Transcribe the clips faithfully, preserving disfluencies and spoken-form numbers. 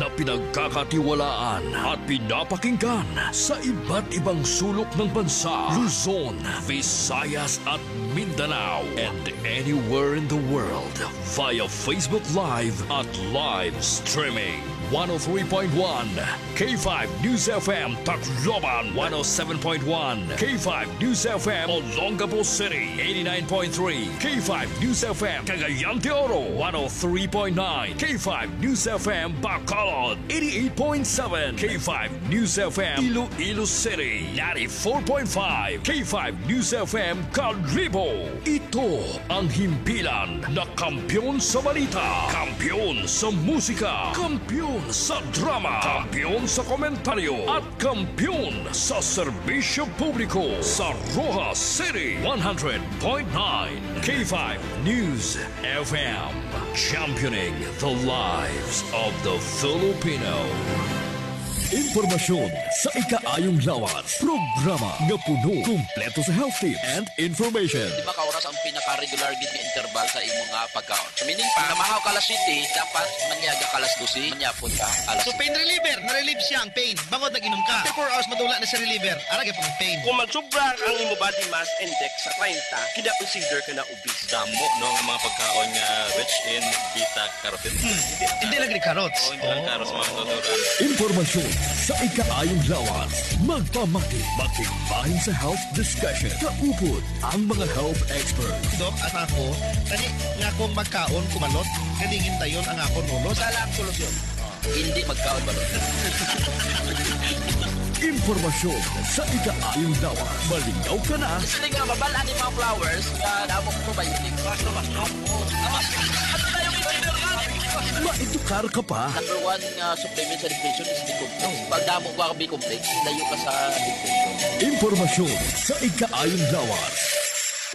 na pinagkakatiwalaan at pinapakinggan sa iba't ibang sulok ng bansa, Luzon, Visayas at Mindanao, and anywhere in the world via Facebook Live at live streaming. One oh three point one K five News F M Tacloban, one oh seven point one K five News F M Olongapo City, eighty-nine point three K five News F M Cagayan de Oro, one oh three point nine K five News F M Bacolod, eighty-eight point seven K five News F M Iloilo City, ninety-four point five K five News F M Kalibo. Ito ang himpilan na kampiyon sa balita, kampiyon sa musika, kampiyon sa drama, kampiyon sa komentaryo, at kampiyon sa serbisyo publiko sa Roxas City, one hundred point nine K five News F M. Championing the lives of the Filipino. Impormasyon sa ikaayong lawas. Programa nga puno, kumpleto sa health tips and information. Di ba ka oras ang pinaka-regular gid nga interval sa imo nga pagkaon? So, meaning pa, namahaw ka alas siyete, dapat manyaga ka alas dose, manyapon ka alas So, pain reliever, na-relieve siya ang pain. Bangod nag-inom ka. After four hours, madula na si reliever. Ara gyapon ang pain. Kung magsubra ang imo body mass index sa treinta, kina-consider ka na obese. Damo, no, nga mga pagkaon nga rich in beta carotene. Hmm. Hindi lang ni carrots. Oo, hindi lang Oh. carrots, mga natural. Impormasyon sa ikaayong lawas. Magpamati, makigbahin sa health discussion. Kaupod ang mga health experts. Dok, ang ako, kani nga akong magkaon, kumalot, kalingin dayon ang akon ulo. Sa lang solusyon. Hindi magkaon ba? Impormasyon sa ikaayong lawas. Malingaw ka na. Gusto nga mabal-an ni mga flowers nga damo probiotics. Basta, basta. Ano tayo, mineral nga? Maitukar ka pa. Number one nga supplement sa depression is B-complex. Pag damo ka B-complex, layo ka sa depression. Impormasyon sa ikaayong lawas.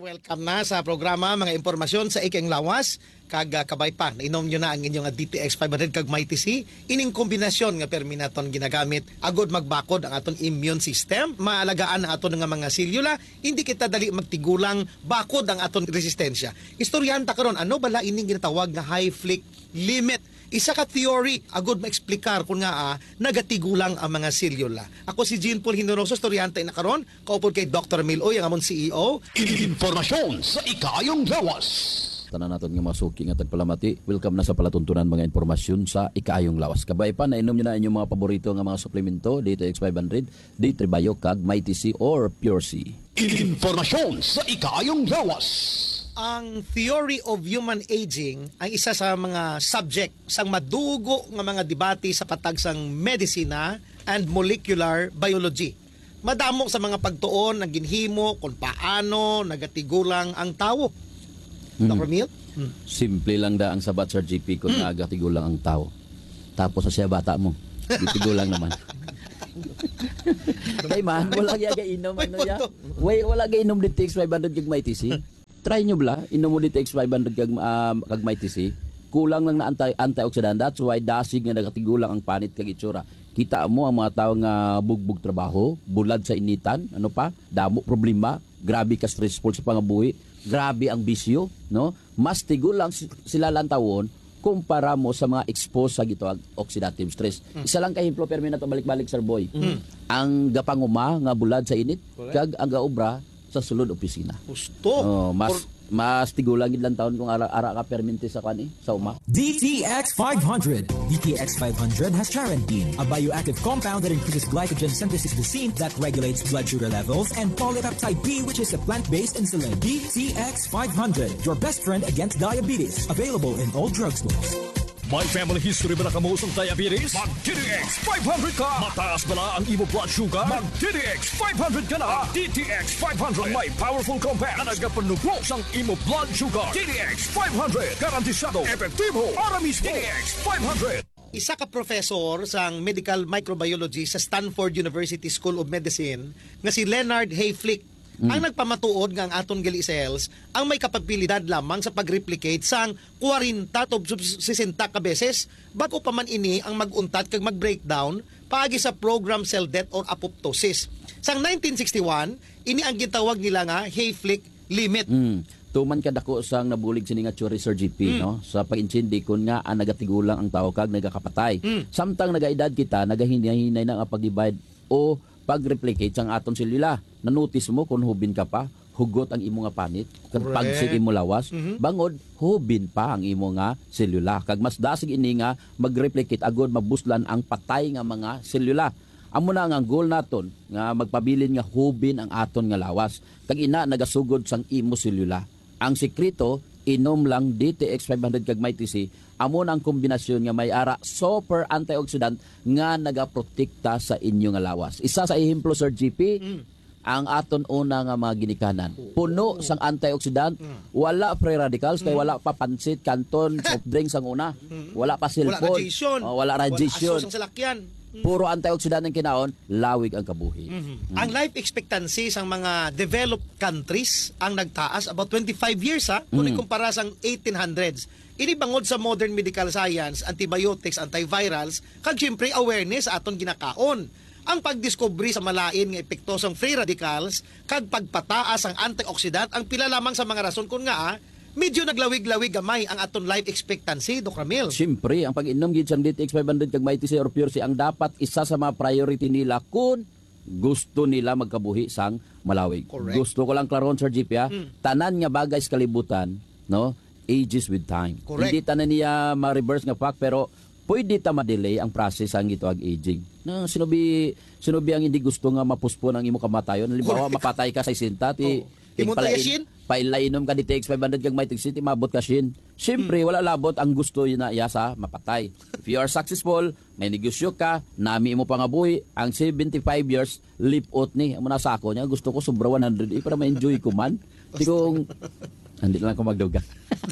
Welcome na sa programa, mga impormasyon sa ikaayong lawas. Kag, ah, kabay pa, nainom nyo na ang inyong, ah, D T X five hundred kag Mighty C. Ining kombinasyon nga permi naton ginagamit agod magbakod ang aton immune system, maalagaan ang aton nga mga selula, hindi kita dali magtigulang, bakod ang aton resistensya. Istoryahan ta karon, ano bala ining ginatawag nga Hayflick limit? Isa ka theory agud maeksplikar kon ngaa nagatigulang ang mga selula. Ako si Jean Paul Generoso, istoryahan ta ina karon, kaupod kay Doktor Mil Uy, ang amon C E O. Impormasyon sa ikaayong lawas. Tanan naton nga mga suki nga tagpalamati, welcome na sa palatuntunan mga impormasyon sa ikaayong lawas. Kabay pa, nainom nyo na inyong mga paborito nga mga suplemento, D T X five hundred, D three Bio, kag Mighty C or Pure C. Impormasyon sa ikaayong lawas. Ang theory of human aging ang isa sa mga subject sang madugo nga mga debate sa patag sang medisina and molecular biology. Madamo sa mga pagtuon ang ginhimo kung paano nagatigulang ang tawo. Hmm. Doktor Mil? Hmm. Simple lang da ang sabat, Sir G P, kung Hmm. nagatigulang ang tawo. Tapos sa siya bata mo, gitigulang naman. Kay man, wala gyud gainom, May ano ya? punto. Wala, wala gainom D T X five hundred kag Mighty C. Try nyo bala, inom mo D T X five hundred kag, ah, kag Mighty C. Kulang lang na anti-, antioxidant. That's why dasig nga nagatigulang ang panit kag itsura. Kita mo ang mga tawo nga bugbog trabaho, bulad sa initan, ano pa, damo problema, grabe ka stressful sa pangabuhi, grabe ang bisyo, no? Mas tigulang si-, sila lantawon kumpara mo sa mga exposed sa gitawag oxidative stress. Mm. Isa lang ka ehemplo, pero may nato balik-balik, Sir Boy. Mm. Ang gapanguma nga bulad sa init, Correct. kag ang gaobra sa sulod opisina. Gusto. Oh, mas, Por- mas tigulang gid lang taon kung ara, ara ka permente sa kwan eh, sa uma. D T X five hundred. D T X five hundred has charantine, a bioactive compound that increases glycogen synthesis glucine that regulates blood sugar levels, and polypeptide B, which is a plant-based insulin. D T X five hundred, your best friend against diabetes. Available in all drugstores. May family history ba na kamo sang diabetes? Mag D T X five hundred ka! Mataas bala ang imo blood sugar? Mag D T X five hundred ka na! Ang D T X five hundred may powerful compound na nagapanugro sang imo blood sugar. D T X five hundred, garantisado, epektibo, para mismo. D T X five hundred. Isa ka professor sang medical microbiology sa Stanford University School of Medicine nga si Leonard Hayflick Mm. ang nagpamatuod nga ang aton gali cells ang may kapabilidad lamang sa pag-replicate sang kwarenta to sesenta ka beses, bag-o pa man ini ang mag-untat kag mag-breakdown paagi sa programmed cell death or apoptosis. Sang nineteen sixty-one, ini ang gintawag nila nga Hayflick limit. Mm. Tuman kadako sang nabulig sini nga theory, Sir G P, Mm. no? Sa pag-intindi kon ngaa nagatigulang ang tawo kag nagakapatay. Mm. Samtang nagaedad kita, nagahinay-hinay na nga pag-divide o pag-replicate sang aton selula. Nanotice mo kon hubin ka pa, hugot ang imo nga panit, kag Correct. pagsig imo lawas, Mhm. bangod hubin pa ang imo nga selula. Kag mas dasig ini nga mag-replicate agod mabuslan ang patay nga mga selula. Amo na nga ang goal naton, nga magpabilin nga hubin ang aton nga lawas. Kag ina nagasugod sang imo selula. Ang sekreto, inom lang D T X five hundred kag Mighty C, amo na ang kombinasyon nga may ara super antioxidant nga nagaprotekta sa inyo nga lawas. Isa sa ehemplo, Sir G P, Mm. ang aton una nga mga ginikanan. Oo. Puno sang antioxidant, Mm. wala free radicals, kay Mm. wala pa pansit, kanton, soft drinks ang una. Mm. Wala pa Wala cellphone. radiation. Oh, wala Wala radiation. aso sang salakyan. Mm. Puro antioxidant ang kinaon, lawig ang kabuhi. Mhm. Mm. Ang life expectancy sang mga developed countries ang nagtaas about twenty-five years, ha, kung Mm. ikumpara sang eighteen hundreds. Ini bangod sa modern medical science, antibiotics, antivirals, kag siyempre awareness sa aton ginakaon. Ang pagdiskubre sa malain nga epekto sang free radicals kag pagpataas ang antioxidant ang pila lamang sa mga rason kon ngaa medyo naglawig-lawig gamay ang aton life expectancy, Doc Ramil. Siyempre, ang pag-inom gid sang D T X five hundred kag Mighty C or Pure C ang dapat isa sa mga priority nila kun gusto nila magkabuhi sang malawig. Correct. Gusto ko lang klaron, Sir G P, ha? Mm. Tanan nga bagay sa kalibutan, no, ages with time. Correct. Hindi tanan niya ma-reverse nga fact, pero pwede ta ma-delay ang process sang gituag aging. No, sinubi, sinubi ang hindi gusto nga mapuspon ang imo kamatayon. Halimbawa, Correct. mapatay ka sa sesenta, ti Oo. Imo pala tayo, in-, Shin? Paila inom ka D T X five hundred kag Mighty C, ti maabot ka, Shin. Siyempre, Hmm. wala labot ang gusto na iya sa mapatay. If you are successful, may negosyo ka, nami imo pangabuhi, ang seventy-five years, lipot ni. Amo na sa ako niya, gusto ko sobra one hundred, eh, para ma-enjoy ko man. Di kung, hindi na lang ko magduga.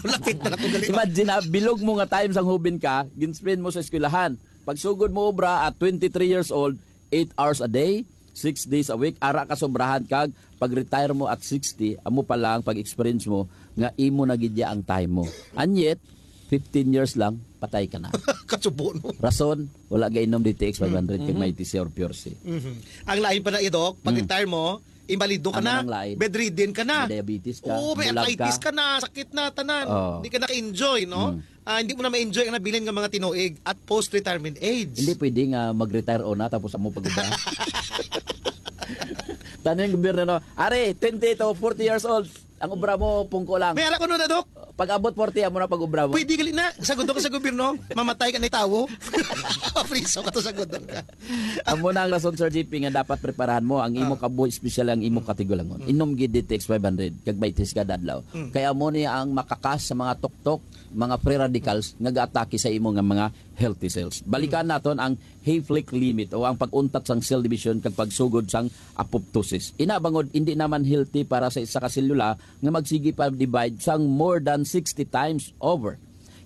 Lapit na lang ko gali. Imagine, ha, bilog mo nga time sang hubin ka, ginspend mo sa eskwelahan. Pagsugod mo obra at twenty-three years old, eight hours a day, six days a week, ara ka sobrahan kag pag-retire mo at sixty, amo pa lang pag-experience mo nga imo na gid ya ang time mo. And yet, fifteen years lang, patay ka na. Kasubo, no? Rason, wala gainom D T X five hundred kag Mm-hmm. Mighty C or Pure C. Mhm. Ang lain pa na, Doc, pag Mm. retire mo, imbalido ka Ano na, nang lain? bedridden ka na. May diabetes ka, Oo, may bulag arthritis ka. ka na, sakit na, tanan. Oo. Di ka naka-enjoy, no? Mm. Ah, hindi mo na ma-enjoy ang nabilin nga mga tinuig at post-retirement age. Hindi pwede nga mag-retire o na tapos amo pag-ubra. Tanong yung gobyerno, no? Are, twenty to forty years old, ang ubra mo, pungko lang. May ara ko no na, Doc. Pag abot forty, amo na pag-ubra mo. Pwede gali na. Sagot ko sa gobyerno, mamatay ka na tawo. Mapriso ka to, sagot ka. Amo na ang rason, Sir G P, nga dapat preparahan mo ang imo Ah. kabuhi, especially ang imo Mm. katigulangon. Mm. Inom gid D T X five hundred, kag Mighty C kada adlaw. Mm. Kaya mo ni ang makakas sa mga tuktok, mga free radicals nga gaatake sa imo nga mga healthy cells. Balikan Mm. naton ang Hayflick limit o ang pag-untat sang cell division kag pagsugod sang apoptosis. Ina bangod hindi naman healthy para sa isa ka selula nga magsigi pa divide sang more than sixty times over.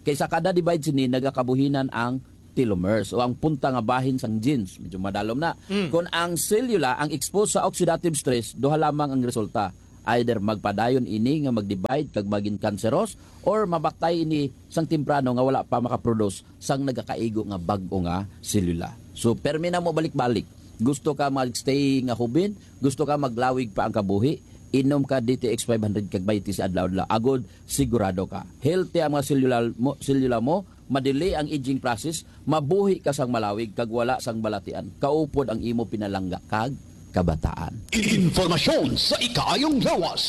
Kay sa kada divide sini nagakabuhinan ang telomeres o ang punta nga bahin sang genes. Medyo madalom na. Mm. Kung ang selula ang exposed sa oxidative stress, duha lamang ang resulta. Either magpadayon ini nga mag-divide kag maging cancerous, or mamatay ini sang temprano nga wala pa makaproduce sang nagakaigo nga bag-o nga selula. So, permi na mo balik-balik. Gusto ka mag-stay nga hubin? Gusto ka maglawig pa ang kabuhi? Inom ka D T X five hundred kag Mighty C adlaw-adlaw. Agod, sigurado ka. Healthy ang mga selula mo, selula mo, madili ang aging process, mabuhi ka sang malawig kag wala sang balatian. Kaupod ang imo pinalangga kag kabataan. Informasyon sa ikaayong lawas.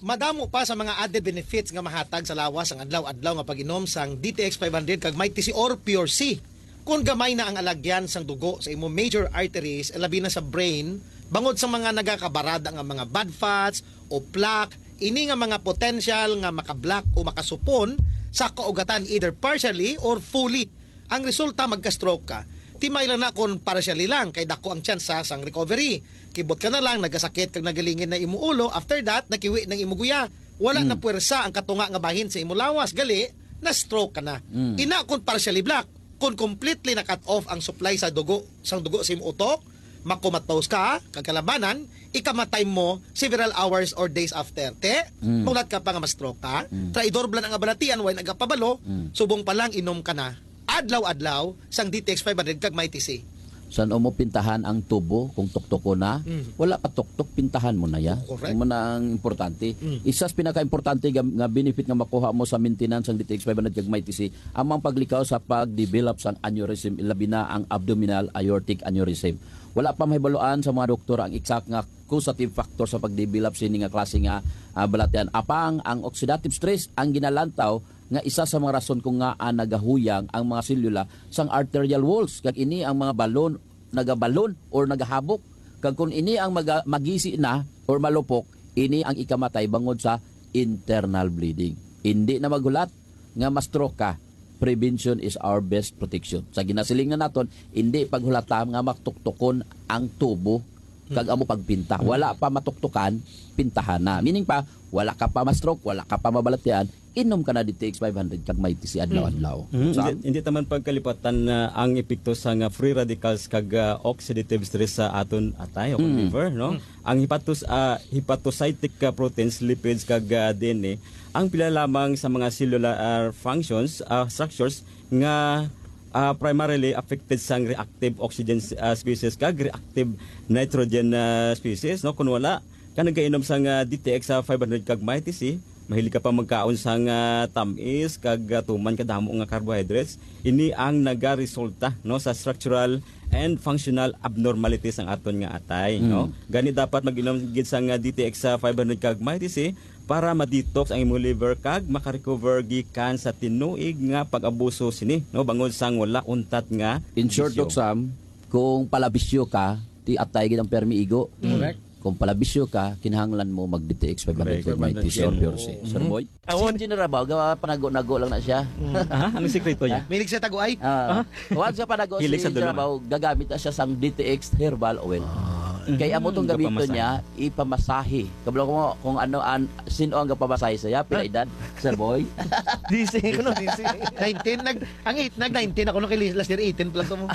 Madamo pa sa mga added benefits nga mahatag sa lawas ang adlaw-adlaw nga pag-inom sang D T X five hundred kag Mighty C or Pure C. Kung gamay na ang alagyan sang dugo sa imo major arteries, labi na sa brain, bangod sa mga nagakabarada nga mga bad fats o plaque, ini nga mga potential nga makablock o makasupon sa kaugatan either partially or fully. Ang resulta, magka-stroke ka. Timay lang na kung partially lang, kay dako ang tsansa sang recovery. Kibot ka na lang, nagasakit kag nagalingin na imo ulo, after that, nakiwi ng imo guya. Wala na Mm. puwersa ang katunga nga bahin sa imo lawas, gali, na-stroke ka na. Mm. Ina kung partially block, kung completely na-cut off ang supply sa dugo, sang dugo sa imo utok, makomatose ka, kag kalabanan, ikamatay mo several hours or days after. Te, Mm. mulat ka pa nga ma-stroke ka, Mm. traidor bala ang balatian, way nagapabalo, Mm. subong pa lang inom ka na. Adlaw-adlaw sang D T X five hundred kag Mighty C. San-o mo pintahan ang tubo kung tuktok ko na? Mm. Wala pa tuktok, pintahan mo na ya. Correct. Amo na ang importante. Mm. Isa sa pinaka-importante nga, nga benefit nga makuha mo sa maintenance sang D T X five hundred kag Mighty C, amo ang paglikaw sa pag-develop sang aneurysm, labi na ang abdominal aortic aneurysm. Wala pa mahibaluan sa mga doktor ang exact nga causative factor sa pag-develop sini nga klase nga, ah, balatian. Apang ang oxidative stress ang ginalantaw nga isa sa mga rason kung ngaa nagahuyang ang mga selula sang arterial walls, kag ini ang mga balon, nagabalon or nagahabok, kag kung ini ang maga-, magisi na or malupok, ini ang ikamatay bangod sa internal bleeding. Hindi na maghulat nga ma-stroke ka. Prevention is our best protection. Sa ginasiling na naton, hindi paghulata nga matuktokon ang tubo kag amo pagpinta. Wala pa matuktokan, pintahan na. Meaning pa, wala ka pa ma-stroke, wala ka pa mabalatian, inom ka na D T X five hundred kag Mighty C adlaw-adlaw. Mm, Sam? Hindi, hindi ta man pagkalipatan na ang epekto sa nga free radicals kag, ah, oxidative stress sa aton atay o Mm. liver, no? Mm. Ang hepatos-, ah, hepatocytic, ah, proteins, lipids kag, ah, D N A, ang pila lamang sa mga cellular, ah, functions, ah, structures nga, ah, primarily affected sang reactive oxygen, ah, species kag reactive nitrogen, ah, species, no? Kung wala ka nagainom sang, ah, D T X sa five hundred kag Mighty C, mahilig ka pa magkaon sang, ah, tamis kag, ah, tuman kadamo nga carbohydrates, ini ang nagaresulta, no, sa structural and functional abnormalities ang aton nga atay, Mm. no? Gani dapat mag-inom gid sang, ah, D T X sa five hundred kag Mighty C para ma-detox ang imong liver kag makarecover gikan sa tinuig nga pag-abuso sini, no, bangod sang wala untat nga In short, bisyo. Doc Sam, kung palabisyo ka, ti atay gid ang permi igo. Correct. Kung palabisyo ka, kinahanglan mo mag-D T X five hundred Correct. Mighty C or Pure C. Sir Mhm. Boy? Awon. Si General Bao, ga-, panago-nago lang na siya. Mm. Aha, ano sikreto niya? Milig sa taguay. Ah, Ah? once sa panago Hilig si sa dulong. General Bao, gagamit na siya sang D T X herbal oil. Ah. Kay amo tong Mm, gamiton gapamasahe. niya, ipamasahe. Kabalo ko mo kung ano an, sino ang gapamasahe sa iya, pila Ah. edad, Sir Boy? Gising, ano, gising? Nineteen, nag-, ang eight, nag-nineteen ako nung kay last year, eighteen pa lang ko mo.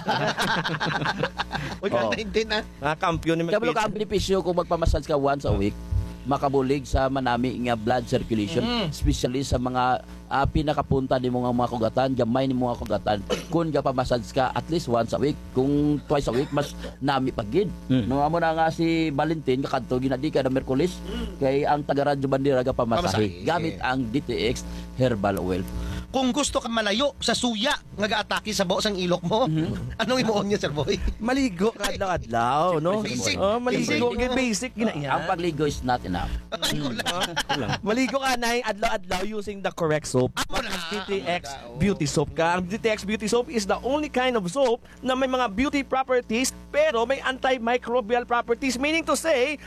Uy, Oh. nineteen, ah. Mga kampiyon ni Kaya Magpit. Ang benepisyo kung magpamassage ka once a week, makabulig sa manami nga blood circulation, Mm. especially sa mga, ah, pinakapunta nimo nga mga kugatan, gamay nimo nga kugatan. Kung gapamassage ka at least once a week, kung twice a week, mas nami pa gid. Mm. No, amo na nga si Valentin, kakadto ginadi kada Miyerkules, Mm. kay ang taga Radyo Bandera gapamasahe Pamasahe. gamit ang D T X herbal oil. Kung gusto ka malayo sa suya, nga gaatake sa bao sang ilok mo. Mhm. Anong imuon niya, Sir Boy? Maligo ka adlaw-adlaw, no? Basic. Oh, maligo. Basic. Kay basic gina yan. Ang pagligo is not enough. Ay, wala. Wala. Maligo ka na adlaw-adlaw using the correct soap. Amo na. D T X Amo na, oh. Beauty Soap ka. Ang D T X Beauty Soap is the only kind of soap na may mga beauty properties, pero may antimicrobial properties. Meaning to say,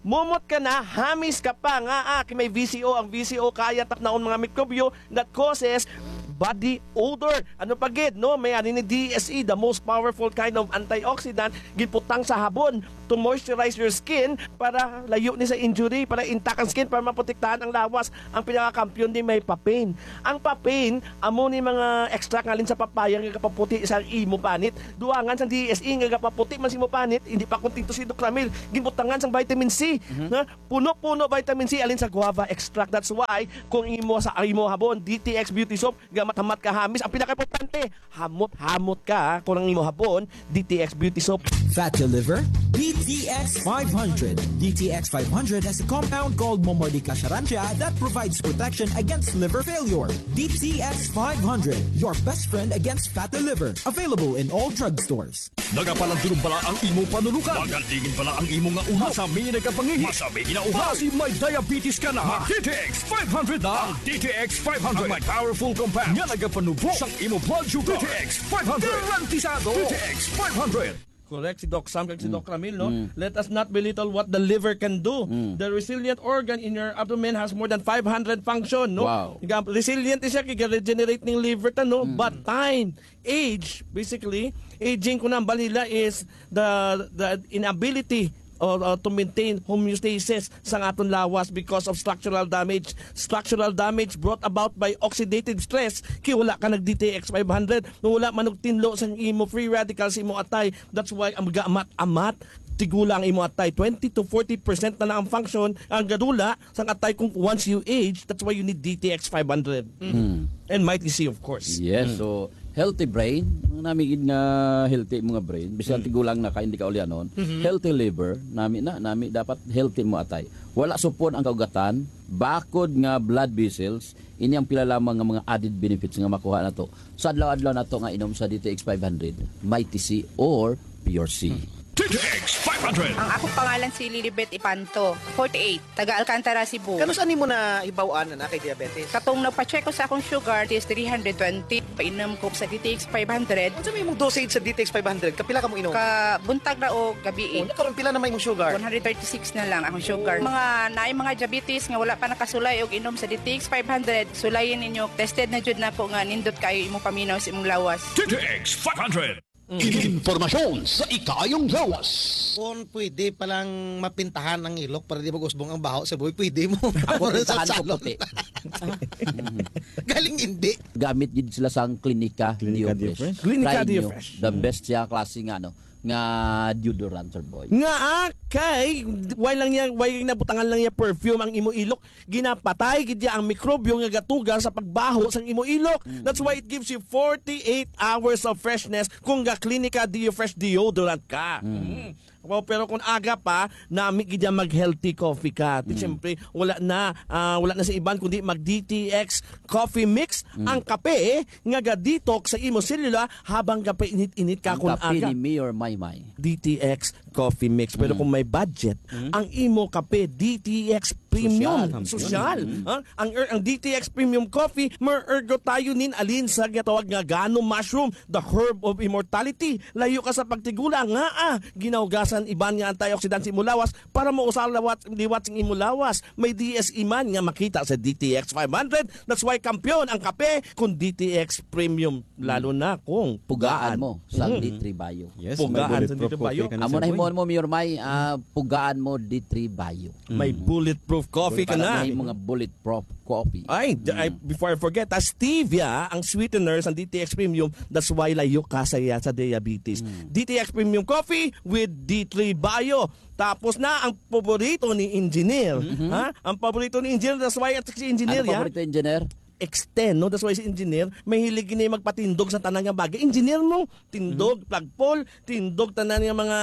mumot ka na, hamis ka pa nga, ah, may V C O. Ang V C O, kaya tapnaon mga mikrobyo, that causes body odor. Ano pa gid, no? May ani ni D S E, the most powerful kind of antioxidant, giputang sa habon to moisturize your skin para layo ni sa injury, para intact ang skin, para maprotektahan ang lawas. Ang pinakakampiyon di may papain. Ang papain, amo ni mga extract nga alin sa papaya nga gapaputi sa imo panit. Duangan sa D S E nga gapaputi man sa imo panit, hindi pa kontento si Doc Ramil. Gibutangan sang vitamin C, Mhm. na Puno-puno vitamin C alin sa guava extract. That's why kung imo sa imo habon, D T X Beauty Soap, gamat-hamat ka hamis. Ang pinakaimportante, hamot-hamot ka kung ang imo habon, D T X Beauty Soap. Fat to liver? D T X five hundred. D T X five hundred has a compound called Momordica charantia that provides protection against liver failure. D T X five hundred, your best friend against fatty liver. Available in all drugstores. Nagapalandulog bala ang imo panunukan? Magalingin bala ang imo nga ulo? Masami na ka pangihi? Masami na uhaw? Basi may diabetes ka na? Mag D T X five hundred na. Ang D T X five hundred ang may powerful compound nga nagapanubo sang imo blood sugar. D T X five hundred. Garantisado. D T X five hundred. Correct, si Doc Sam kag si Mm. Doc Ramil, no? Mm. Let us not belittle what the liver can do. Mm. The resilient organ in your abdomen has more than five hundred function, no? Wow. Ga-, resilient siya, kay regenerate ning liver ta, no? Mm. But time, age, basically, aging ko na, ang balila is the, the inability or, uh, to maintain homeostasis sang aton lawas because of structural damage. Structural damage brought about by oxidative stress. Kay wala ka nag D T X five hundred, no, wala man og tinlo sang imo free radical sa imo atay. That's why ang gaamat-amat, tigula ang imo atay. Twenty to forty percent na na ang function, ang gadula sang atay kung once you age. That's why you need D T X five hundred. Mm. And Mighty C, of course. Yes, Mm. so Healthy brain, ang nami gid nga healthy mga brain, bisan Mm. tigulang na ka, hindi ka ulianon. Mhm. Healthy liver, nami na, nami dapat healthy mo atay. Wala supon ang kaugatan, bakod nga blood vessels, ini ang pila lamang nga mga added benefits nga makuha nato sa adlaw-adlaw nato nga inom sa D T X five hundred, Mighty C or Pure C. Hmm. D T X five hundred. Ang akong pangalan si Lilibet Ipanto, forty-eight, taga Alcantara, Cebu. Kanus-a nimo nahibaw-an na naa kay diabetes? Katong nagpa-check ko sa akong sugar, it is three hundred twenty. Painom ko sa D T X five hundred. Unsa may imong dosage sa D T X five hundred? Kapila ka mo inom? Ka buntag na o gabi. Oh, karon pila na may imong sugar? One hundred thirty-six na lang akong sugar. Oh. Mga naay mga diabetes nga wala pa nakasulay og inom sa D T X five hundred, sulayin ninyo. Tested na jud nako nga nindot kayo imong paminaw sa imong lawas. D T X five hundred. Mm. Impormasyon sa ikaayong lawas. Kung pwede palang mapintahan ang ilok para di mag-usbong ang baho sa buhay, pwede mo. Ako, Para sa pintahan ko salon. Puti. Galing hindi. Gamit gid sila sang Clinica Clinica Diofresh. Diofresh. Clinica Try nyo. Diofresh. The Mm. best siya klase nga, ano, nga deodorant, sir boy. Nga, ah, kay, why lang niya, why nabutangan lang niya perfume ang imo ilok? Ginapatay gid niya ang mikrobyo nga gatuga sa pagbaho sang imo ilok. Mm. That's why it gives you forty-eight hours of freshness kung ga Clinica Diofresh deodorant ka. Mm. Mm. Wow, pero kung aga pa, nami gid niya mag-healthy coffee ka. Di Mm. siyempre, wala na, ah, wala na sa iban kundi mag D T X coffee mix. Mm. Ang kape, eh, nga ga-detox sa imo selula habang gapainit-init ka Ang kung kape aga. Ni Mayor Maymay. D T X coffee mix. Pero Mm. kung may budget, Mm. ang imo kape, D T X premium. Sosyal. Sosyal. Mm. Ha? Ang, er, ang D T X premium coffee, may ergotayunin alin sa ginatawag nga gano mushroom, the herb of immortality. Layo ka sa pagtigulang, nga, ah, ginaugasan iban nga antioxidant sa imo lawas para mausal lawat, liwat sing imo lawas. May D S E man nga makita sa D T X five hundred. That's why kampiyon ang kape kung D T X premium, lalo na kung Pugaan pugaan. mo sa Mm. D three Bio. Yes, Pugaan may sa bulletproof D three Bio. coffee ka na, Amo sir na boy. himuon mo, Mayor May, ah, pugaan mo D three Bio. May Mm. bulletproof coffee ka Para na. may mga bulletproof coffee. Ay, d-, ay, Mm. before I forget, ah, stevia ang sweetener sa D T X Premium. That's why layo ka sa, sa diabetes. Mm. D T X Premium Coffee with D three Bio. Tapos na ang paborito ni Engineer. Mhm. Ha? Ang paborito ni Engineer, that's why at si Engineer, Ano ya? paborito, Engineer? Extend, no? That's why si Engineer, mahilig gini magpatindog sa tanan nga bagay. Engineer mo, tindog, Mhm. plug pull, tindog tanan nga mga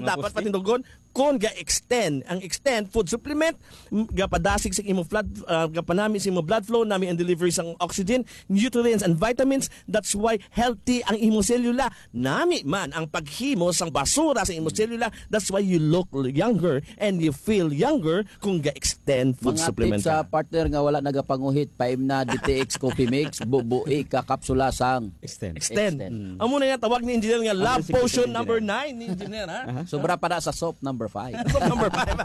Mga dapat poste? patindogon. Kung ga-extend, ang extend food supplement, m-, gapadasig sa imo blood, ah, gapanami sa imo blood flow, nami ang delivery sang oxygen, nutrients, and vitamins. That's why healthy ang imo selula. Nami man ang paghimo sang basura sa imo selula. That's why you look younger and you feel younger kung ga-extend food Mga supplement tips sa ka. partner nga wala nagapanguhit, paimna D T X Coffee Mix, bubuhi ka kapsula sang Extend. Extend. Extend. Mm. Amo na nga tawag ni Engineer nga Ang Love Potion Engineer. number nine ni Engineer, ha? Aha. Sobra pa na sa soap number five. Soap number five.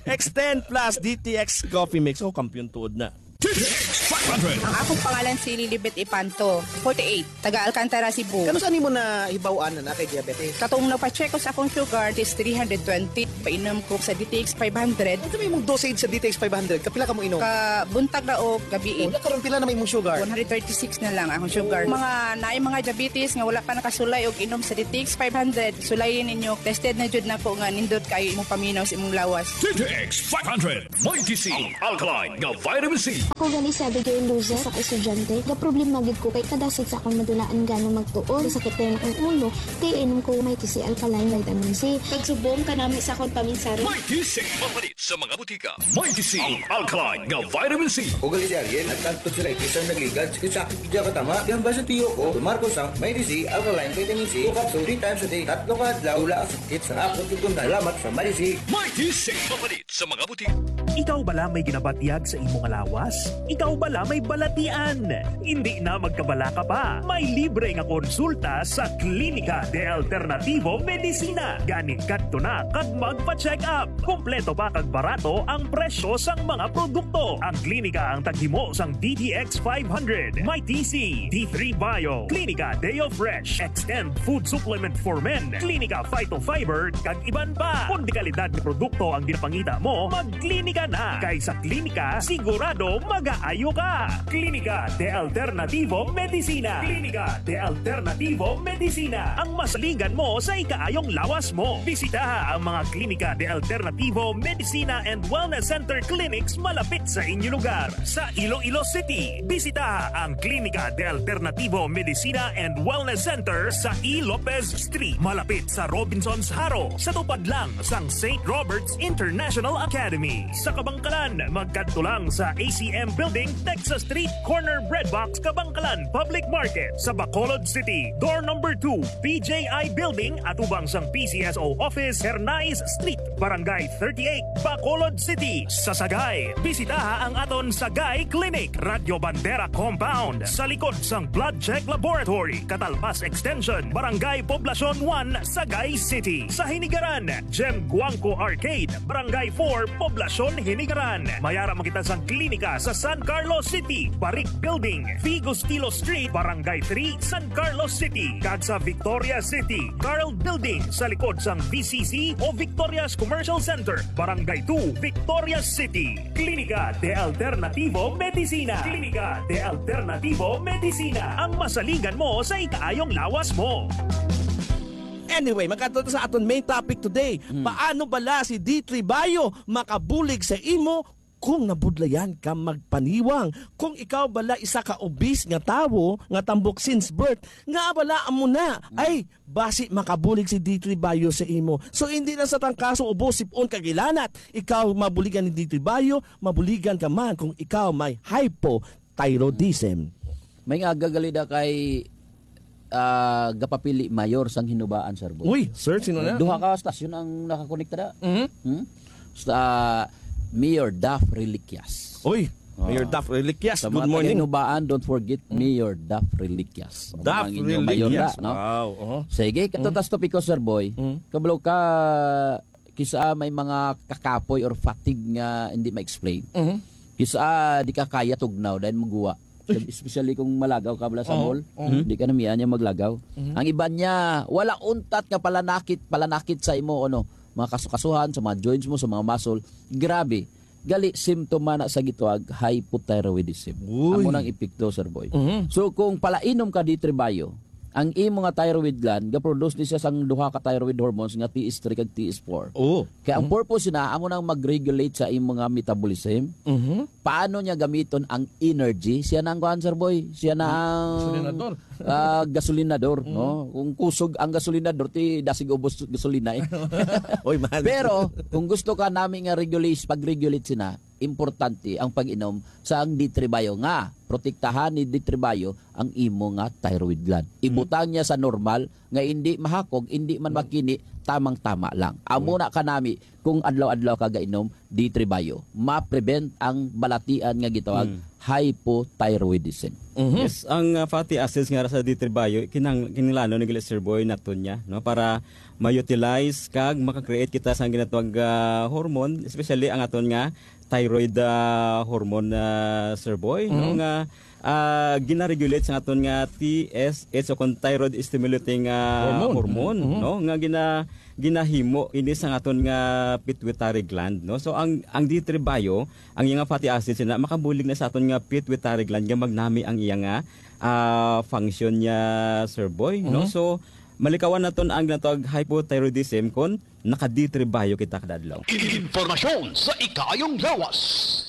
Extend plus D T X Coffee Mix. Oh, kampiyon tuod na. D T X five hundred. Ang akong pangalan si Lilibet Ipanto, forty-eight, taga Alcantara, Cebu. Kanus-a nimo nahibaw-an na naa kay diabetes? Katong nagpa-check ko sa akong sugar, it is three hundred twenty. Painom ko sa D T X five hundred. Unsa may imong dosage sa D T X five hundred? Kapila ka mo inom? Ka buntag na o gabi. Oh, karon pila na may imong sugar? One hundred thirty-six na lang akong sugar. Oh. Mga naay mga diabetes nga wala pa nakasulay og inom sa D T X five hundred, sulayin ninyo. Tested na jud nako nga nindot kayo imong paminaw sa imong lawas. D T X five hundred, Mighty C, ang alkaline nga vitamin C. Ako gani si Abigail Luzes, ako estudyante. Gaproblema gid ko kay kadasig sa akong madulaan gani magtuon. Sakit kay akong ulo, kay inom ko Mighty C alkaline vitamin C. Pagsubong kanami sa akong paminsaron. Mighty C, mapalit sa mga butika. Mighty C, ang alkaline nga vitamin C. Ako gali si Ariel, at ang tonsillitis ang nagligad. Sakit-sakit gid ang katama. Kaya ba sa tiyo ko, tumar ko sa Mighty C, alkaline vitamin C, two capsule, three times a day. Tatlo ka adlaw, wala ang sakit sa akong tutunda. Salamat sa Mighty C. Mighty C, mapalit sa mga butika. Ikaw bala may ginabatyag sa imo nga lawas? Ikaw bala may balatian? Hindi na magkabalaka pa. May libre nga konsulta sa Klinika de Alternativo Medicina. Gani kadto na kag magpa-check up. Kompleto pa kag barato ang presyo sang mga produkto. Ang klinika ang taghimo sang D T X five hundred, Mighty C, D three Bio, Klinika Deo Fresh, Extend Food Supplement for Men, Klinika Phytofiber, kag iban pa. Kung dekalidad nga produkto ang ginapangita mo, magklinika na. Kay sa klinika, sigurado magaayo ka. Klinika de Alternativo Medicina. Klinika de Alternativo Medicina, ang masaligan mo sa ikaayong lawas mo. Bisitaha ang mga Klinika de Alternativo Medicina and Wellness Center clinics malapit sa inyo lugar. Sa Iloilo City, bisitaha ang Klinika de Alternativo Medicina and Wellness Center sa E. Lopez Street, malapit sa Robinsons Jaro, sa tupad lang sang Saint Robert's International Academy. Sa Kabangkalan, magkadto lang sa A C M Building, Texas Street, corner Bread Box, Kabangkalan Public Market. Sa Bacolod City, door number two, P J I Building, atubang sang P C S O Office, Hernais Street, Barangay thirty-eight, Bacolod City. Sa Sagay, bisitaha ang aton Sagay Clinic, Radyo Bandera Compound, sa likod sang Blood Check Laboratory, Catalpas Extension, Barangay Poblacion one, Sagay City. Sa Hinigaran, Gem Guangco Arcade, Barangay four, Poblacion, Hinigaran. Mayara makita sang klinika sa San Carlos City, Barik Building, Vigo Stilo Street, Barangay three, San Carlos City, kag sa Victoria City, Carl Building, sa likod sang V C C o Victoria's Commercial Center, Barangay two, Victoria City. Klinika de Alternativo Medicina. Klinika de Alternativo Medicina, ang masaligan mo sa ikaayong lawas mo. Anyway, magkadto ta sa aton main topic today. Hmm. Paano bala si D three Bio makabulig sa imo kung nabudlayan ka magpaniwang? Kung ikaw bala isa ka obese nga tawo nga tambok since birth, nga bala amo na, hmm, ay, basi makabulig si D three Bio sa imo. So, hindi lang sa tangkaso, ubo, sipon, kag hilanat, ikaw mabuligan ni D three Bio, mabuligan ka man kung ikaw may hypothyroidism. May nga gagalida kay, ah, gapapili mayor sang Hinubaan, Sir Boy. Uy, sir, sino na? Duha ka stasyon ang nakakonekta na. Mhm. Hmm? Sa Mayor Daph Reliquias. Uy, Mayor Ah. Daph Reliquias, Sa good mga morning. taga-Hinubaan, don't forget Mm. Mayor Daph Reliquias. Daph Ang inyong mayor Reliquias. na, no? Wow, uh-huh. Sige, Mm. katutas topiko, Sir Boy. Mm. Kabalo ka, kisa may mga kakapoy or fatigue nga hindi ma-explain. Mhm. Kisa di ka kaya tugnaw dahil maguwa. Uy. Especially kung malagaw ka bala sa Oo, mall, oo. di ka na miya niya maglagaw. Mhm. Ang iban niya, wala untat nga palanakit, palanakit sa imo, ano, mga kasukasuhan, sa mga joints mo, sa mga muscle. Grabe. Gali, simptoma na sa gitawag hypothyroidism. Uy. Amo nang epekto, Sir Boy. Mhm. So, kung palainom ka D three Bio, ang imo nga thyroid gland, ga-produce ni siya sang duha ka thyroid hormones nga T S three kag T S four. Oo. Kaya ang Mhm. purpose na, amo nang mag-regulate sa imo nga metabolism. Mhm. Paano niya gamiton ang energy? Siya na ang kuan, Sir Boy. Siya na ang, Gasolinador. ah, gasolinador, Mm. no? Kung kusog ang gasolinador, ti dasig ubos gasolina, eh. Oy, man. Pero, kung gusto ka nami nga regulate, pag-regulate sina, importante ang pag-inom sa ang D three Bio nga protektahan ni D three Bio ang imo nga thyroid gland. Mm. Ibutang niya sa normal nga hindi mahakog, hindi man Mm. makini, tamang-tama lang. Amo Mm. na kanami kung adlaw-adlaw ka gainom D three Bio. Ma-prevent ang balatian nga gitawag Mm. hypothyroidism. Mhm. Yes, ang, ah, fatty acids nga sa D three Bio, kinang-, kinilano ni gali Sir Boy naton niya, no, para ma-utilize kag maka-create kita sa ginatawag, ah, hormone, especially ang aton nga thyroid, ah, hormone, ah, Sir Boy, no, Mhm. nga, ah, gina-regulate sa aton nga T S H o kon thyroid stimulating, ah, Hormone. hormone, Mhm. no, nga gina-, ginahimo ini sa aton nga pituitary gland, no. So ang, ang D three Bio, ang iya nga fatty acid sina makabulig na sa aton nga pituitary gland nga magnami ang iya nga, ah, function niya, Sir Boy, no. Mhm. So malikawan naton ang ginatawag hypothyroidism kon naka-D three Bio kita kada adlaw. Impormasyon sa ikaayong lawas.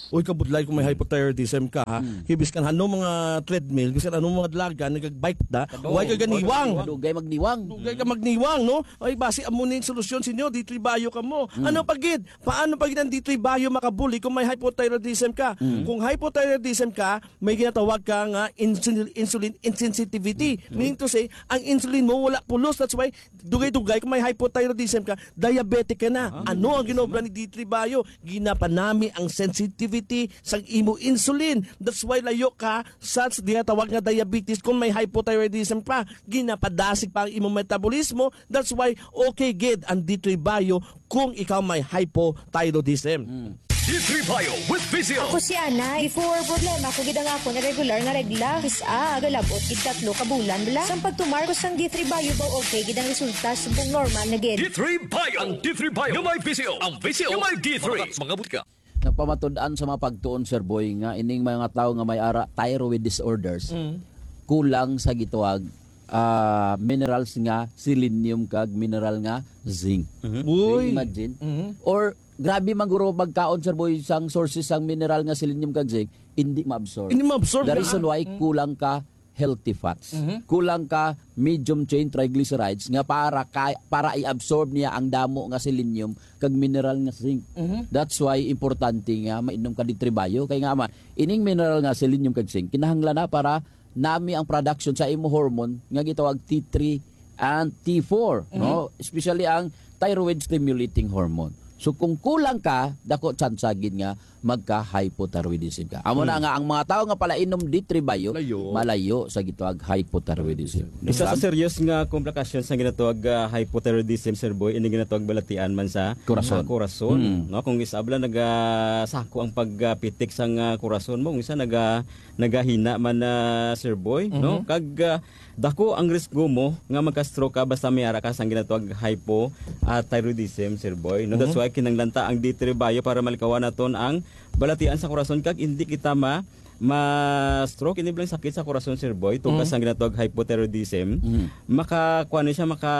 Uy, kabudlay kung may hypothyroidism ka, ha? Hmm. Kay biskan ano mga treadmill, biskan ano mga dalagan, nagag-bike da, Kadto. Way ka ganiwang. Dugay magniwang. Dugay ka magniwang, no? Ay, basi amo ning solusyon sa inyo, D three Bio ka mo. Hmm. Ano pa gid? Paano pa gid ang D three Bio makabuli kung may hypothyroidism ka? Hmm. Kung hypothyroidism ka, may ginatawag ka nga insul-, insulin insensitivity. Hmm. Meaning to say, ang insulin mo wala pulos. That's why dugay-dugay, kung may hypothyroidism ka, diabetic ka na. Ah. Ano ang ginobra ni D three Bio? Ginapanami ang sensitivity sa imo insulin. That's why layo ka sa ginatawag nga diabetes kung may hypothyroidism pa. Ginapadasig pa ang imong metabolismo. That's why okay gid ang D three Bio kung ikaw may hypothyroidism. Mm. D three Bio with Visio. Ako si Ana. Before, problema ko gid ang akon irregular nga regla. Kis-a, galabot gid tatlo ka bulan bala. Sang pagtumar ko sang D three Bio ba, okay gid ang resulta, subong normal na gid. D three Bio. Ang D three Bio nga may Visio. Ang Visio nga may D three. Mga butika. Nagpamatud-an sa mga pagtuon, Sir Boy, nga ining mga tawo nga may ara thyroid disorders, Mm. kulang sa gitawag, ah, minerals nga selenium kag mineral nga zinc. Mhm. Uy. Imagine. Mhm. Or grabe man guro magkaon, Sir Boy, sang sources sang mineral nga selenium kag zinc, hindi ma-absorb. Hindi ma-absorb The na. reason why Mm. kulang ka healthy fats. Mhm. Kulang ka medium chain triglycerides nga para kay, para i-absorb niya ang damo nga selenium kag mineral nga zinc. Mhm. That's why importante nga mainom ka D three Bio kay nga man ining mineral nga selenium kag zinc kinahanglan na para nami ang production sa imo hormone nga gitawag T three and T four, Mhm. no? Especially ang thyroid stimulating hormone. So kung kulang ka, dako tsansa gid nga magka-hypothyroidism ka. Amo na Hmm. nga ang mga tawo nga palainom D three Bio, Layo. malayo sa gitawag hypothyroidism. Isa sa Understand? serious nga komplikasyon sa ginatawag, ah, hypothyroidism, Sir Boy, ini ginatawag balatian man sa Corazon. ah, corazon, Hmm. no? Kung isa bala nagasako ang pagpitik sang, ah, corazon mo, kung isa naga-, nagahina man na, Sir Boy, no? Mhm. Kag, ah, dako ang risgo mo nga magka-stroke ka basta may ara ka sang ginatawag hypo, ah, thyroidism, Sir Boy, no? That's Mhm. why kinahanglan ta ang D three Bio para malikawan naton ang balatian sa korason kag hindi kita ma-, ma-stroke, ini bilang sakit sa korason, Sir Boy, tungod Mhm. sa ginatawag hypothyroidism. Mhm. Maka, kuwan ni siya, maka,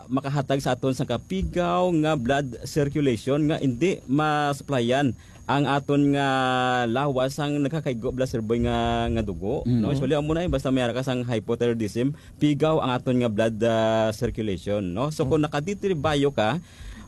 makahatag sa aton sa kapigaw nga blood circulation nga hindi ma-supplyan ang aton nga lawas sang nagkakaigo bala, Sir Boy, nga, nga dugo, Mm. no? Usually, amo na, eh, basta may ara ka sang hypothyroidism, pigaw ang aton nga blood, ah, circulation, no? So, kung Mm. naka-D three Bio ka,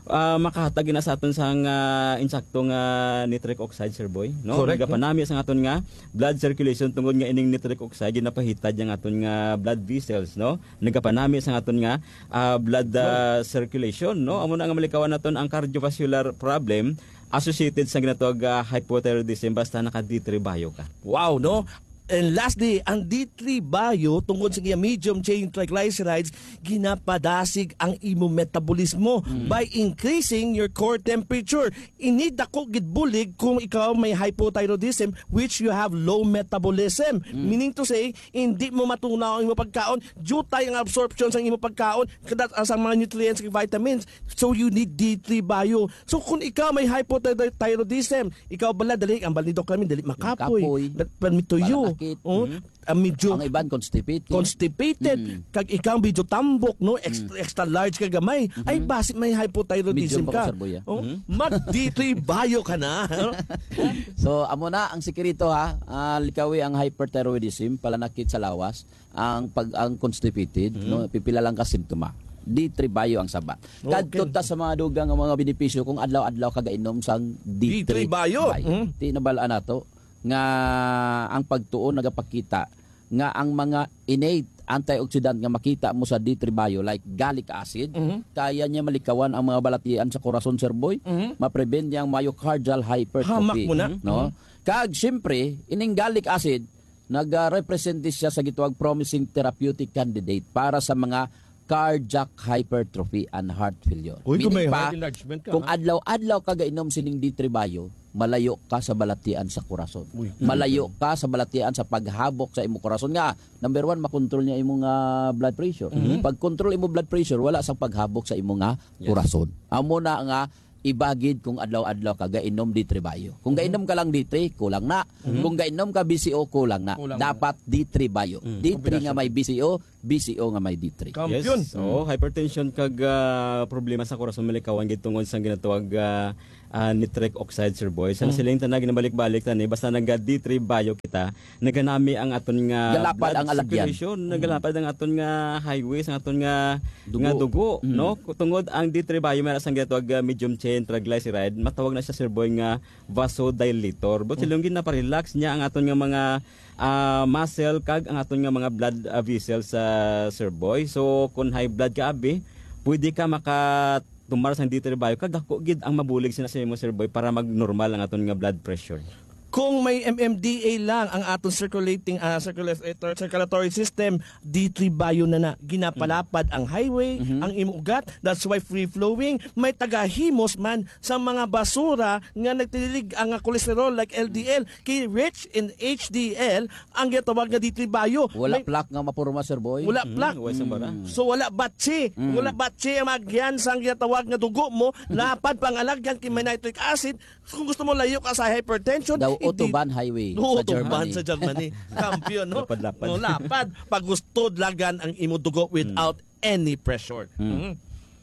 ah, makahatag na sa aton sang, ah, insakto nga nitric oxide, Sir Boy, no? Correct, no? Nagapanami sang aton nga blood circulation tungod nga ining nitric oxide ginapahitad ang aton nga blood vessels, no? Nagapanami sang aton nga, ah, blood, ah, Wow. circulation, no? Amo na nga malikawan naton ang cardiovascular problem associated sa ginatawag, ah, hypothyroidism basta naka D three Bio ka. Wow, no? And lastly, ang D three Bio, tungod sa iya medium chain triglycerides, ginapadasig ang imo metabolismo Mm. by increasing your core temperature. Ini dako gid bulig kung ikaw may hypothyroidism, which you have low metabolism. Mm. Meaning to say, hindi mo matunaw ang imo pagkaon, jutay ang absorption sa imo pagkaon, kada sa mga nutrients ug vitamins. So you need D three Bio. So kung ikaw may hypothyroidism, ikaw bala dali ang balnidok kami dali makapoy. Kapoy. But, but may tuyo. Panakit. Oh, Mm. ah, medyo Ang iban constipated. constipated. Mm. Kag ikaw medyo tambok, no? Extra, Mm. extra large ka gamay. Ay, Mhm. basi may hypothyroidism Medium pa ka. ka, Sir Boy, ah. Oh, Mhm. mag D three Bio ka na. So, amo na ang sikreto, ha. Ah, likawi ang hyperthyroidism, palanakit sa lawas, ang pag, ang constipated, Mhm. no? Pipila lang ka simptoma. D three Bio ang sabat. Okay. Kadto ta sa mga dugang nga mga benepisyo kung adlaw-adlaw ka gainom sang D three D three Bio. Bio. Mhm. Di nabal-an nato nga ang pagtuon nagapakita nga ang mga innate antioxidant nga makita mo sa D three Bio, like gallic acid, Mhm. kaya niya malikawan ang mga balatian sa korason, Sir Boy. Mhm. Ma-prevent niya ang myocardial hypertrophy. Hamak mo na. No? Mhm. Kag, siyempre, ining gallic acid, nag-represent siya sa gitawag promising therapeutic candidate para sa mga cardiac hypertrophy and heart failure. Uy, kung Meaning may pa, heart enlargement ka, kung ha? adlaw-adlaw ka gainom sining D three Bio, malayo ka sa balatian sa korason. Uy, Malayo ka sa balatian sa paghabok sa imo korason nga, number one, makontrol niya imong, ah, blood pressure. Mhm. Pag control imo blood pressure, wala sang paghabok sa imo nga Yes. korason. Amo na nga ibagid kung adlaw-adlaw ka gainom D three Bio. Kung Mhm. gainom ka lang D three, kulang na. Mhm. Kung gainom ka B C O, kulang na. Kulang na. Dapat D three Bio. Mm. D three nga Kombinasyon. may B C O, B C O nga may D three. Kampiyon. Yes. Oo, Mm. hypertension kag, ah, problema sa korason malikawan gid tungod sa ginatawag, ah, ah, nitric oxide, Sir Boy. Sa Mm. nasiling ta na, ginabalik-balik ta ni, basta naga D three Bio kita, naganami ang aton nga Galapad blood ang alagyan. circulation, Mm. nagalapad ang aton nga highways, ang aton nga, Dugo. nga dugo, Mm. no? Tungod ang D three Bio, may ra sang ginatawag, ah, medium chain triglyceride, matawag na siya, Sir Boy, nga vasodilator. But Mm. silong gid naparelax niya ang aton nga mga, ah, muscle kag ang aton nga mga blood, ah, vessels, ah, Sir Boy. So, kung high blood ka, abi, pwede ka makatumar sang D three Bio kag dako gid ang mabulig sina sa imo, Sir Boy, para mag-normal ang aton nga blood pressure. Kung may M M D A lang ang aton circulating, ah, circulator, circulatory system, D three Bio na na. Ginapalapad ang highway, Mhm. ang imong ugat. That's why free-flowing. May tagahimos man sa mga basura nga nagtililig ang kolesterol like L D L. Kay rich in H D L ang ginatawag nga D three Bio. Wala May plaque nga mapurma, Sir Boy. Wala Mm, plaque. Wala sa bara. Mm. So, wala batsi. Mm. Wala batsi ang magyan sa ginatawag nga dugo mo. Lapad pangalagyan kay may nitric acid. Kung gusto mo layo ka sa hypertension, The iti- Autobahn Highway Oo, sa Autobahn Germany. sa Germany. Kampiyon, no? Lapad-lapad. No, lapad. Pagustod lagan ang imo dugo without Mm. any pressure. Mm. Mm.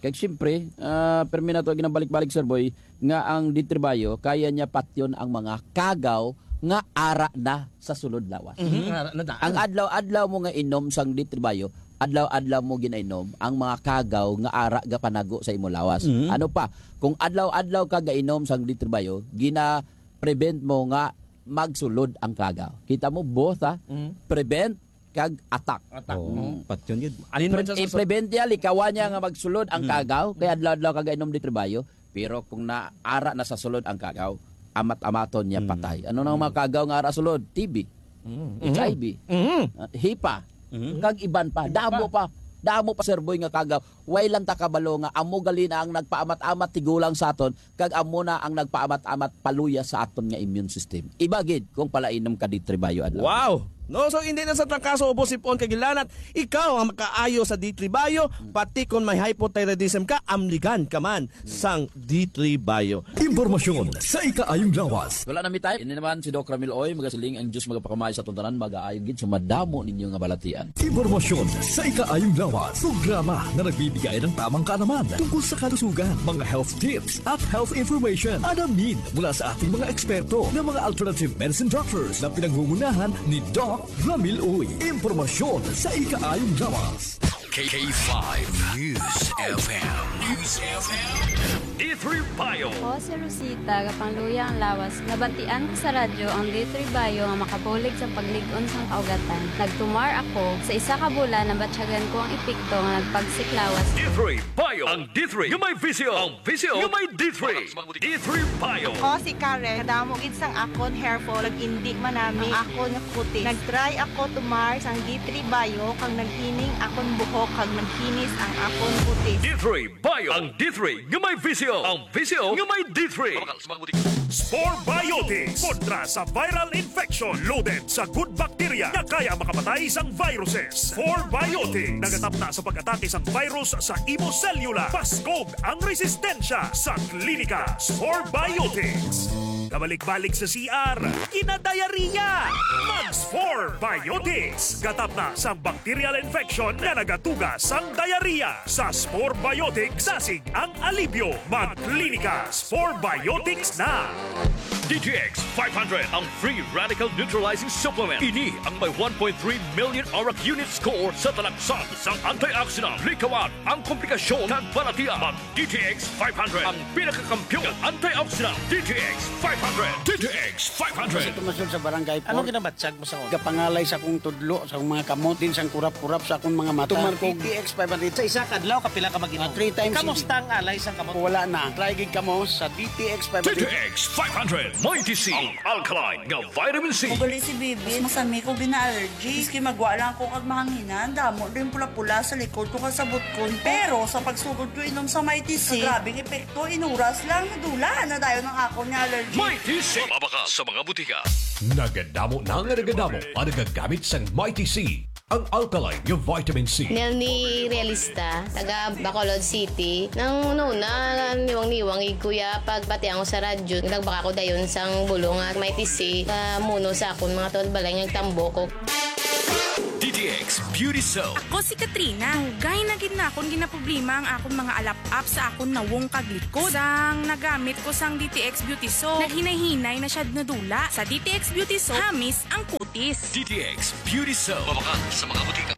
Kag siyempre, ah, permi na to ginabalik-balik, Sir Boy, nga ang D three Bio, kaya niya patyon ang mga kagaw nga ara na sa sulod lawas. Mhm. Ara na daan. Ang adlaw-adlaw mo nga inom sang D three Bio, adlaw-adlaw mo ginainom ang mga kagaw nga ara gapanago sa imo lawas. Mhm. Ano pa? Kung adlaw-adlaw ka gainom sang D three Bio, gina-prevent mo nga magsulod ang kagaw. Kita mo, both, ha? Mhm. Prevent kag attack. Attack. Oo. Mhm. Patyon gid. Alin man Pre-, sa i-prevent niya, likawan niya nga magsulod ang Mhm. kagaw, kay adlaw-adlaw ka gainom D three Bio. Pero kung naara na sa sulod ang kagaw, amat-amaton niya Mm. patay. Ano nang Mm. mga kagaw nga ara sulod? T B, Mm. H I V, Mm. ah, hipa, Mm. kag iban pa. Iban Damo pa. pa. Damo pa, Sir Boy, nga kagaw. Way lang ta kabalo nga amo gali na ang nagpaamat-amat tigulang sa aton, kag amo na ang nagpaamat-amat paluya sa aton nga immune system. Iba gid kung palainom ka D three Bio adlaw. Wow! No, so hindi na sa trangkaso, ubos, sipon, kag hilanat, ikaw ang makaayo sa D three Bio, pati kon may hypothyroidism ka, amligan ka man sang D three Bio. Impormasyon sa ikaayong lawas. Wala na mi time. Ini naman si Doc Ramil Oy, magasiling ang Diyos magapakamay sa aton tanan, magaayo gid sa madamo ninyo nga balatian. Impormasyon sa ikaayong lawas. Programa na nagbibigay ng tamang kaalaman tungkol sa kalusugan, mga health tips at health information. Alamin mula sa ating mga eksperto ng mga alternative medicine doctors na pinangungunahan ni Doc Ramil Uy. Impormasyon sa ikaayong lawas. K five News F M. News F M. D three Bio. Ako si Rosita, gapangluya ang lawas. Nabatian ko sa radyo ang D three Bio nga makabulig sa paglig-on sang kaugatan. Nagtumar ako. Sa isa ka bulan, nabatyagan ko ang epekto nga nagpagsik lawas. D three Bio. Ang D three nga may visyo. Ang visyo nga may D three. D three Bio. Ako si Karen. Kadamo gid sang akon hair fall, nag-indi man nami ang akon nga kutis. Nag-try ako tumar sang D three Bio, kag naghining akon buhok, kag naghinis ang akon kutis. D three Bio, ang D three nga may visyo, ang visyo nga may D three. Spore Biotics, kontra sa viral infection, loaded sa good bacteria nga kaya makapatay sang viruses. Spore Biotics, nagatapna sa pag-atake sang virus sa imo selula. Paskog ang resistensya sa klinika. Spore Biotics. Kabalik-balik sa C R, kinadayariya. Mag Spore Biotics. Gatapna sang bacterial infection nga nagatuga sang diarrhea. Sa Spore Biotics, dasig ang alibyo. Magklinika, Spore Biotics na. D T X five hundred, ang free radical neutralizing supplement. Ini ang may one point three million arak unit score sa talaksan sang antioxidant. Likawan ang komplikasyon kag balatian. Mag D T X five hundred, ang pinakakampiyon nga antioxidant. D T X five hundred. D T X five hundred. Sa tumasol sa barangay Anong four, ginabatyag mo sa una? Gapangalay sa akong tudlo, sa akong mga kamot, din sang kurap-kurap sa akong mga mata. Tumar ko D T X five hundred. Sa isa ka adlaw, kapila ka mag-inom? Ah, three times a day. Kamusta ang alay sa kamot? Wala na. Try gid kamo sa D T X five hundred. D T X five hundred, Mighty C, ang alkaline nga vitamin C. Ugali si Bibi, mas masami ko gina-allergy. Maski magwa lang ako kag mahanginan, damo din pula-pula sa likod ko kag sa butkon ko. Pero sa pagsugod ko inom sa Mighty C, grabe ang epekto, inuras lang, nadula na dayon ang akon nga allergy. Mighty C. Mabakal sa mga butika. Nagadamo na nga nagadamo ang nagagamit sang Mighty C, ang alkaline nga vitamin C. Nelny Realista, taga Bacolod City. Nang una, niwang-niwang gid ko ya pagbatian ko sa radyo. Nagbaka ko dayon sang bulong nga Mighty C, ah, muno sa akon mga tuod balay nga nagtambok ko. D T X Beauty Soap. Ako si Katrina. Dugay na gid na akon ginaproblema ang akon mga alap-ap sa akon nawong kag likod. Sang nagamit ko sang D T X Beauty Soap, naghinay-hinay na siya nadula. Sa D T X Beauty Soap, hamis ang kutis. D T X Beauty Soap. Mabakal sa mga butika.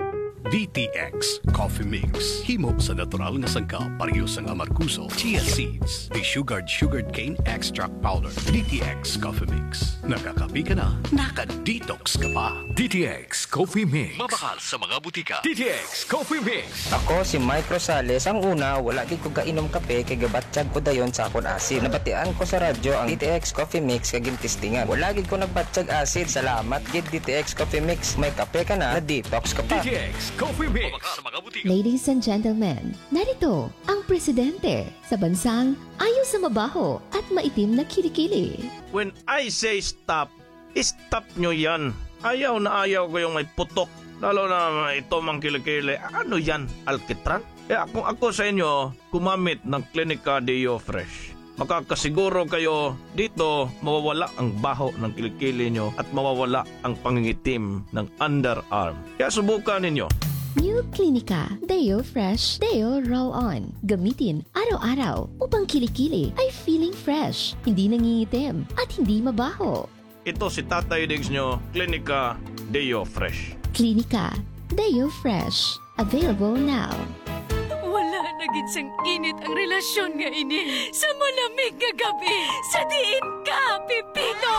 D D T X Coffee Mix. Himo sa natural nga sangkap, pareho sang amargoso, chia seeds, desugared sugarcane extract powder. D T X Coffee Mix. Nakakape ka na, naka-detox ka pa. D T X Coffee Mix. Mabakal sa mga butika. D T X Coffee Mix. Ako si Mike Rosales. Ang una, wala gid ko gainom kape kay gabatyag ko dayon sa akon asid. Nabatian ko sa radyo ang D T X Coffee Mix kag gintistingan. Wala gid ko nagbatyag asid. Salamat gid, D T X Coffee Mix. May kape ka na, na-detox ka pa. D T X Coffee Mix. Mabakal sa mga butika. Ladies and gentlemen, narito ang presidente sa bansang ayaw sa mabaho at maitim na kilikili. When I say stop, stop nyo yan. Ayaw na ayaw ko yung may putok. Lalo na ito mang kilikili. Ano yan? Alkitran? Kaya kung ako sa inyo, gumamit ng Clinica Deo Fresh. Makakasiguro kayo dito mawawala ang baho ng kilikili nyo at mawawala ang pangingitim ng underarm. Kaya subukan ninyo. New Clinica Deo Fresh Deo Roll On. Gamitin araw-araw upang kilikili ay feeling fresh, hindi nangingitim, at hindi mabaho. Ito si Tatay Diggs nyo, Clinica Deo Fresh. Clinica Deo Fresh. Available now. Wala na gid sang init ang relasyon nga ini. Sa malamig nga gabi, sa diin ka, Pipito?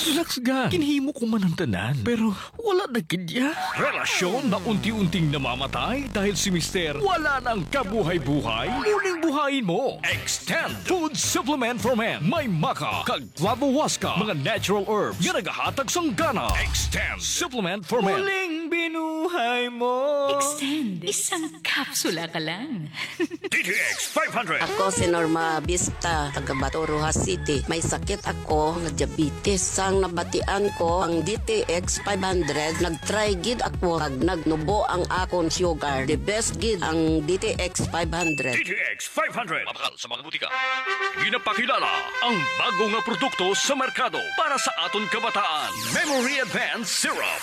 Relax ka. Ginhimo ko man ang tanan, pero wala na gid ya. Relasyon na unti-unting namamatay dahil si Mister wala nang kabuhay-buhay. Muling buhayin mo. Extend Food Supplement for Men. May maca kag Flavohuasca, mga natural herbs nga nagahatag sang gana. Extend Supplement for Men. Muling binuhay mo. Extend. Isang kapsula ka lang. D T X five hundred. Ako si Norma Vista, taga Bato, Roxas City. May sakit ako nga diabetes. Sang nabatian ko ang D T X five hundred, nag-try gid ako kag nagnubo ang akon sugar. The best gid ang D T X five hundred. D T X five hundred. Mabakal sa mga butika. Ginapakilala ang bago nga produkto sa merkado para sa aton kabataan, Memory Advance Syrup.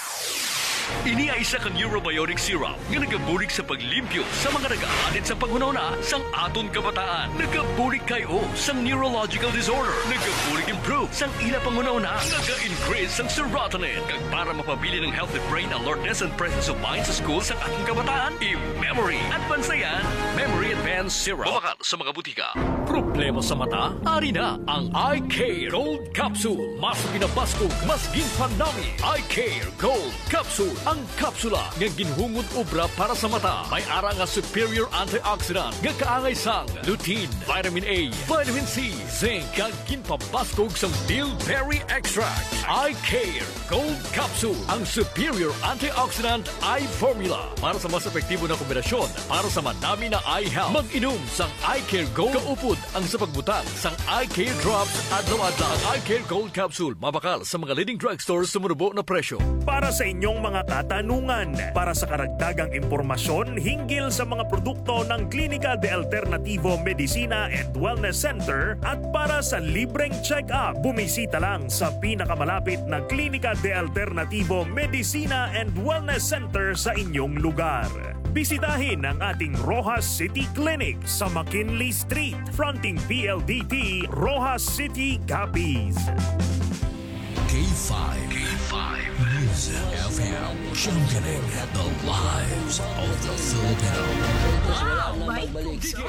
Ini ay isa ka neurobiotic syrup nga nagabulig sa paglimpyo sa mga nagaadit sa panghunahuna sang aton kabataan. Nagabulig kay o sang neurological disorder. Nagabulig improve sang ila panghunahuna. Naga-increase sang serotonin. Kag para mapabilin ang healthy brain alertness and presence of mind sa school sang aton kabataan, i-memory. Advance na yan. Memory Advance Syrup. Mabakal sa mga butika. Problema sa mata? Ari na ang Eye Care Gold Capsule. Mas ginabaskog, mas ginpanami. Eye Care Gold Capsule. Ang kapsula nga ginhungod obra para sa mata. May ara nga superior antioxidant nga kaangay sang lutein, vitamin A, vitamin C, zinc, kag ginpabaskog sang bilberry extract. Eye Care Gold Capsule, ang superior antioxidant eye formula para sa mas epektibo na kombinasyon para sa manami na eye health. Mag-inom sang Eye Care Gold kaupod ang sa pagbutang sang Eye Care Drops adlaw-adlaw. Ang Eye Care Gold Capsule mabakal sa mga leading drugstore sa manubo na presyo. Para sa inyong mga katanungan, para sa karagdagang impormasyon hinggil sa mga produkto ng Klinika de Alternativo Medicina and Wellness Center at para sa libreng check-up, bumisita lang sa pinakamalapit na Klinika de Alternativo Medicina and Wellness Center sa inyong lugar. Bisitahin ang ating Roxas City Clinic sa McKinley Street, fronting P L D T, Roxas City, Capiz. K five, K five News F M, championing the lives of the Filipino. Wow, may tugsa!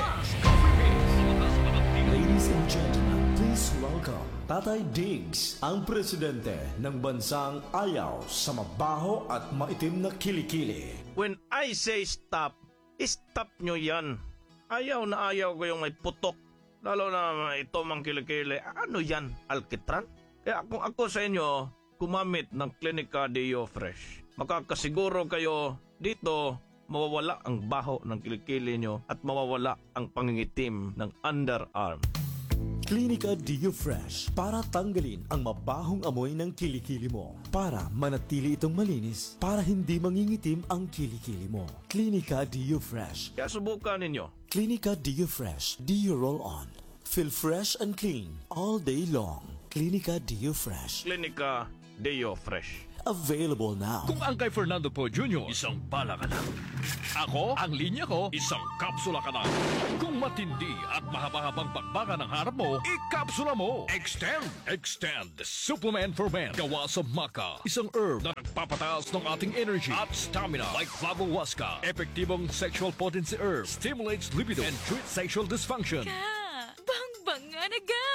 Ladies and gentlemen, please welcome Tatay Diggs, ang presidente ng bansang ayaw sa mabaho at maitim na kilikili. When I say stop, stop nyo yan. Ayaw na ayaw ko yung may putok. Lalo na ito mang kilikili. Ano yan? Alkitran? Kaya kung ako sa inyo, gumamit ng Clinica Deo Fresh. Makakasiguro kayo dito mawawala ang baho ng kilikili nyo at mawawala ang pangingitim ng underarm. Clinica Deo Fresh para tanggalin ang mabahong amoy ng kilikili mo. Para manatili itong malinis, para hindi mangingitim ang kilikili mo. Clinica Deo Fresh. Kaya subukan ninyo. Clinica Deo Fresh Deo Roll On. Feel fresh and clean all day long. Clinica Deo Fresh. Clinica Deo Fresh. Available now. Kung ang kay Fernando Poe Junior, isang bala ka lang. Ako, ang linya ko, isang kapsula ka lang. Kung matindi at mahaba-habang bakbakan ang harap mo, ikapsula mo. Extend, Extend Supplement for Men. Gawa sa maca, isang herb na nagpapataas ng ating energy at stamina. Like Flavo Huasca, epektibong sexual potency herb, stimulates libido and treats sexual dysfunction. Ka, bangbanga na ga.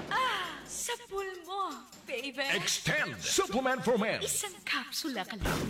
Ah, sa pulmo, baby. Extend Supplement for Men. Isang kapsula ka lang.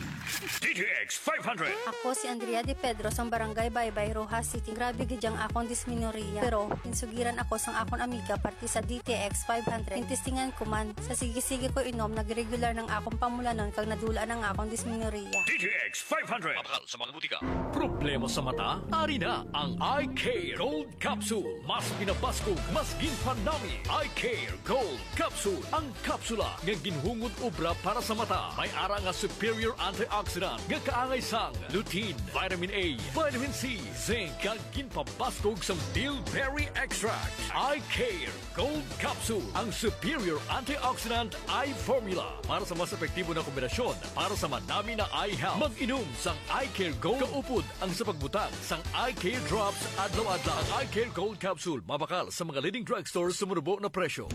D T X five hundred. Ako si Andrea De Pedro sang Barangay Baybay, Roxas City. Grabe gid ang akon dismenorrhea. Pero insugiran ako sang akon amiga parte sa D T X five hundred. Intestingan ko man. Sa sige-sige ko inom, nagregular nang akon pamulanon kag nadula nang akon dismenorrhea. D T X five hundred. Mabakal sa mga butika. Problema sa mata? Ari na ang Eye Care Gold Capsule. Mas pinabaskog, mas ginpanami. Eye Care Gold Capsule. Ang kapsula nga ginhungod obra para sa mata. May ara nga superior antioxidant nga kaangay sang lutein, vitamin A, vitamin C, zinc, kag ginpabaskog sang bilberry extract. Eye Care Gold Capsule, ang superior antioxidant eye formula para sa mas epektibo na kombinasyon para sa manami na eye health. Mag-inom sang Eye Care Gold kaupod ang sa pagbutang sang Eye Care Drops adlaw-adlaw. Ang Eye Care Gold Capsule mabakal sa mga leading drugstore sa manubo na presyo.